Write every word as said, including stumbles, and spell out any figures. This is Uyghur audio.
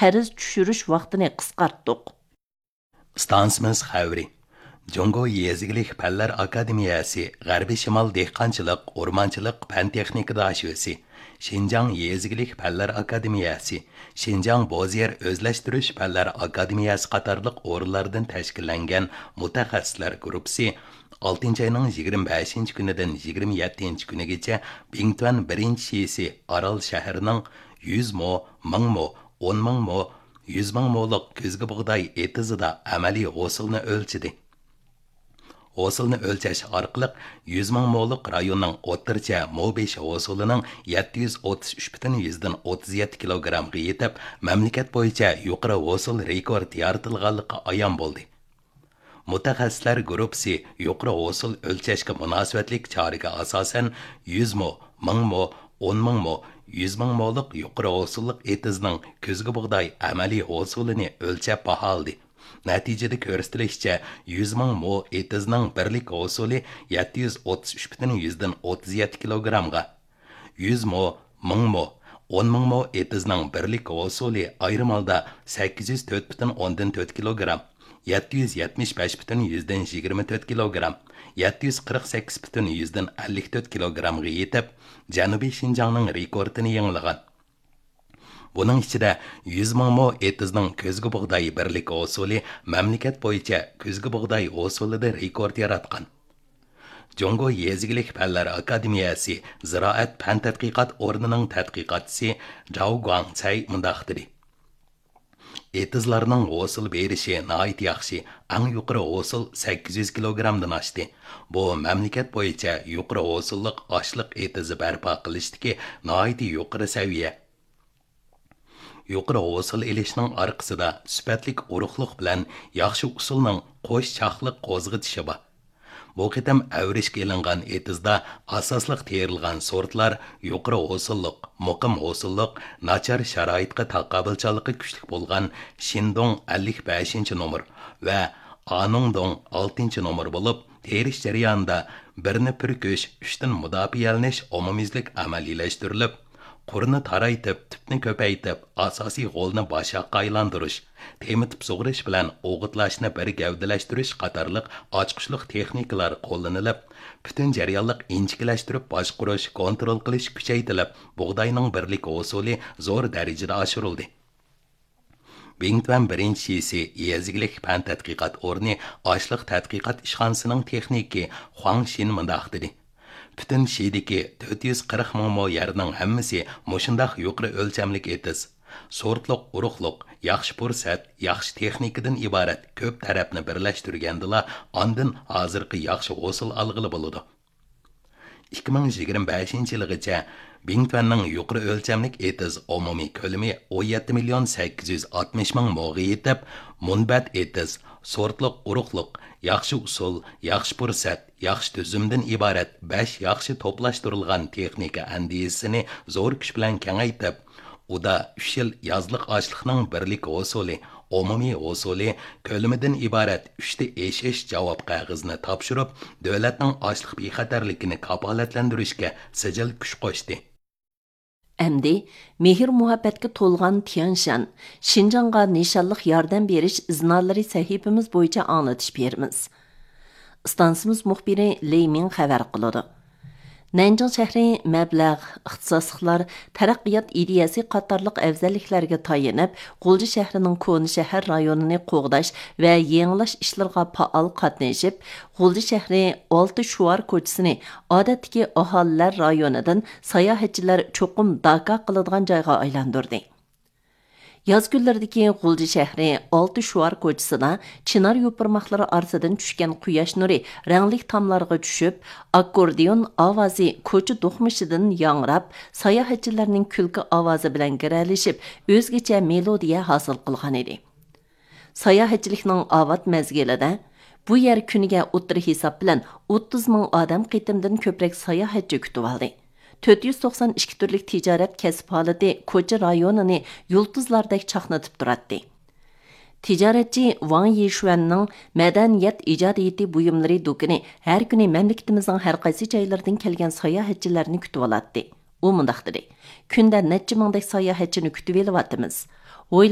قەرز چۈشۈرۈش ۋاقتىنى قىسقارتتۇق. ئىستانسىمىز خەۋىرى. جۇڭگو يېزا ئىگىلىك پەنلەر ئاكادېمىيەسى غەربىي شىمال دېھقانچىلىق، ئورمانچىلىق پەن تېخنىكا داشۆسى، شىنجاڭ يېزا ئىگىلىك پەنلەر ئاكادېمىيەسى، شىنجاڭ بوز يەر ئۆزلەشتۈرۈش پەنلەر ئاكادېمىيەسى قاتارلىق ئورۇنلاردىن تەشكىللەنگەن مۇتەخەسسىسلەر گۇرۇپپىسى ئالتىنچى ئاينىڭ يىگىرمە بەشىنچى كۈنىدىن يىگىرمە يەتتىنچى كۈنىگىچە بىڭتۈەن بىرىنچى شىسى ئارال شەھىرىنىڭ يۈز مو، مىڭ مو، ئون مىڭ مو، يۈز مىڭ مولۇق كۈزگى بۇغداي ئېتىزىدا ئەمەلىي ھوسۇلنى ئۆلچىدى. ھوسۇلنى ئۆلچەش ئارقىلىق يۈز مىڭ مولۇق رايوننىڭ ئوتتۇرىچە مو بېشى ھوسۇلىنىڭ يەتتە يۈز ئوتتۇز ئۈچ پۈتۈن يۈزدىن ئوتتۇز يەتتە كىلوگرامغا يېتىپ، مەملىكەت بويىچە يۇقىرى ھوسۇل رېكورت يارىتىلغانلىقى ئايان بولدى. مۇتەخەسسىسلەر گۇرۇپپىسى يۇقىرى ھوسۇل ئۆلچەشكە مۇناسىۋەتلىك چارىگە ئاساسەن، يۈز مو، مىڭ مو، ئون مىڭ مو، يۈز مىڭ مولۇق يۇقىرى ھوسۇللۇق ئېتىزنىڭ كۈزگى بۇغداي ئەمەلىي ھوسۇلىنى ئۆلچەپ باھالىدى. نەتىجىدە كۆرسىتىلىشىچە، يۈز مىڭ مو ئېتىزنىڭ بىرلىك ھوسۇلى يەتتە يۈز ئوتتۇز ئۈچ پۈتۈن يۈزدىن ئوتتۇز يەتتە كىلوگرامغا، يۈز مو، مىڭ مو، ئون مىڭ مو ئېتىزنىڭ بىرلىك ھوسۇلى ئايرىم ھالدا سەككىز يۈز تۆت پۈتۈن ئوندىن تۆت كىلوگرام، يەتتە يۈز يەتمىش بەش پۈتۈن يۈزدىن يىگىرمە تۆت كىلوگرام، يەتتە يۈز قىرىق سەككىز پۈتۈن يۈزدىن ئەللىك تۆت كىلوگرامغا يېتىپ، جەنۇبىي شىنجاڭنىڭ رېكورتىنى يېڭىلىغان. بۇنىڭ ئىچىدە يۈز مىڭ مو ئېتىزنىڭ كۈزگى بۇغداي بىرلىك ھوسۇلى مەملىكەت بويىچە كۈزگى بۇغداي ھوسۇلىدا رېكورت ياراتقان. جۇڭگو يېزا ئىگىلىك پەنلەر ئاكادېمىيەسى زىرائەت پەن تەتقىقات ئورنىنىڭ تەتقىقاتچىسى جاۋ گۇاڭسەي مۇنداق دېدى: ئېتىزلارنىڭ ھوسۇل بېرىشى ناھايىتى ياخشى، ئەڭ يۇقىرى ھوسۇل سەككىز يۈز كىلوگرامدىن ئاشتى. بۇ مەملىكەت بويىچە يۇقىرى ھوسۇللۇق ئاشلىق ئېتىزى بەرپا قىلىشتىكى ناھايىتى يۇقىرى سەۋىيە. يۇقىرى ھوسۇل ئېلىشنىڭ ئارقىسىدا سۈپەتلىك ئۇرۇقلۇق بىلەن ياخشى ئۇسۇلنىڭ قوش چاقلىق قوزغىتىشى بار. بۇ قېتىم ئەۋرىشكە ئېلىنغان ئېتىزدا ئاساسلىق تېرىلغان سورتلار يۇقىرى ھوسۇللۇق، مۇقىم ھوسۇللۇق، ناچار شارائىتقا تاقابىلچانلىقى كۈچلۈك بولغان شىندۇڭ ئەللىك بەشىنچى نومۇر ۋە ئانۇڭدۇڭ ئالتىنچى نومۇر بولۇپ، تېرىش جەريانىدا بىرنى پۈركۈش، ئۈچتىن مۇداپىئەلىنىش ئومۇميۈزلۈك ئەمەلىيلەشتۈرۈلۈپ، قۇرنى تارايتىپ، تۈپنى كۆپەيتىپ، ئاساسىي غولنى باشاققا ئايلاندۇرۇش، تېمىتىپ سۇغىرىش بىلەن ئوغۇتلاشنى بىر گەۋدىلەشتۈرۈش قاتارلىق ئاچقۇچلۇق تېخنىكىلار قوللىنىلىپ، پۈتۈن جەريانلىق ئىنچىكىلەشتۈرۈپ باشقۇرۇش، كونترول قىلىش كۈچەيتىلىپ، بۇغداينىڭ بىرلىك ھوسۇلى زور دەرىجىدە ئاشۇرۇلدى. بىڭتۈەن بىرىنچى شىسى يېزا ئىگىلىك پەن تەتقىقات ئورنى ئاشلىق تەتقىقات ئىشخانىسىنىڭ تېخنىكى خۇاڭ شىن مۇنداق دېدى: پۈتۈن شىدىكى تۆت يۈز قىرىق مىڭ مو يەرنىڭ ھەممىسى مۇشۇنداق يۇقىرى ئۆلچەملىك ئېتىز، سورتلۇق ئۇرۇقلۇق، ياخشى پۇرسەت، ياخشى تېخنىكىدىن ئىبارەت كۆپ تەرەپنى بىرلەشتۈرگەندىلا، ئاندىن ھازىرقى ياخشى ھوسۇل ئالغىلى بولىدۇ. ئىككى مىڭ يىگىرمە بەشىنچى يىلىغىچە بىڭتۈەننىڭ يۇقىرى ئۆلچەملىك ئېتىز ئومۇمىي كۆلىمى ئون يەتتە مىليون سەككىز يۈز ئاتمىش مىڭ موغا يېتىپ، مۇنبەت ئېتىز، سورتلۇق ئۇرۇقلۇق، ياخشى ئۇسۇل، ياخشى پۇرسەت، ياخشى تۈزۈمدىن ئىبارەت بەش ياخشى توپلاشتۇرۇلغان تېخنىكا ئەندىزىسىنى زور كۈچ بىلەن كېڭەيتىپ، ئۇدا ئۈچ يىل يازلىق ئاشلىقنىڭ بىرلىك ھوسۇلى، ئومۇمىي ھوسۇلى، كۆلىمىدىن ئىبارەت ئۈچتە ئېشىش جاۋاب قەغىزىنى تاپشۇرۇپ، دۆلەتنىڭ ئاشلىق بىخەتەرلىكىنى كاپالەتلەندۈرۈشكە سىجىل كۈچ قوشتى. ئەمدى مېھىر-مۇھەببەتكە تولغان تيەنشان، شىنجاڭغا نىشانلىق ياردەم بېرىش ئىزنالىرى سەھىپىمىز بويىچە ئاڭلىتىش بېرىمىز. ئىستانسىمىز مۇخبىرى لېي مىڭ خەۋەر قىلىدۇ. نەنجىڭ شەھىرى مەبلەغ، ئىختىساسلىقلار، تەرەققىيات ئىدىيەسى قاتارلىق ئەۋزەللىكلەرگە تايىنىپ، غۇلجا شەھىرىنىڭ كونا شەھەر رايونىنى قوغداش ۋە يېڭىلاش ئىشلىرىغا پائال قاتنىشىپ، غۇلجا شەھىرى ئالتە شوئار كوچىسىنى ئادەتتىكى ئاھالىلەر رايونىدىن ساياھەتچىلەر چوقۇم داكا قىلىدىغان جايغا ئايلاندۇردى. ياز كۈنلىرىدىكى غۇلجا شەھىرى ئالتە شوئار كوچىسىدا چىنار يوپۇرماقلىرى ئارىسىدىن چۈشكەن قۇياش نۇرى رەڭلىك تاملارغا چۈشۈپ، ئاككوردىئون ئاۋازى كوچا دوقمۇشىدىن ياڭراپ، ساياھەتچىلەرنىڭ كۈلكە ئاۋازى بىلەن گىرەلىشىپ، ئۆزگىچە مېلودىيە ھاسىل قىلغانىدى. ساياھەتچىلىكنىڭ ئاۋات مەزگىلىدە بۇ يەر كۈنىگە ئوتتۇرا ھېساب بىلەن ئوتتۇز مىڭ ئادەم قېتىمدىن كۆپرەك ساياھەتچى كۈتۈۋالدى. تۆت يۈز توقسان ئىككى تۈرلۈك تىجارەت كەسىپ ھالىتى كوچا رايونىنى يۇلتۇزلاردەك چاقنىتىپ تۇراتتى. تىجارەتچى ۋاڭ يىشۈەننىڭ مەدەنىيەت ئىجادىيىتى بۇيۇملىرى دۇكىنى ھەر كۈنى مەملىكىتىمىزنىڭ ھەر قايسى جايلىرىدىن كەلگەن ساياھەتچىلەرنى كۈتۈۋالاتتى. ئۇ مۇنداق دېدى: كۈندە نەچچە مىڭدەك ساياھەتچىنى كۈتۈۋېلىۋاتىمىز. ھويلا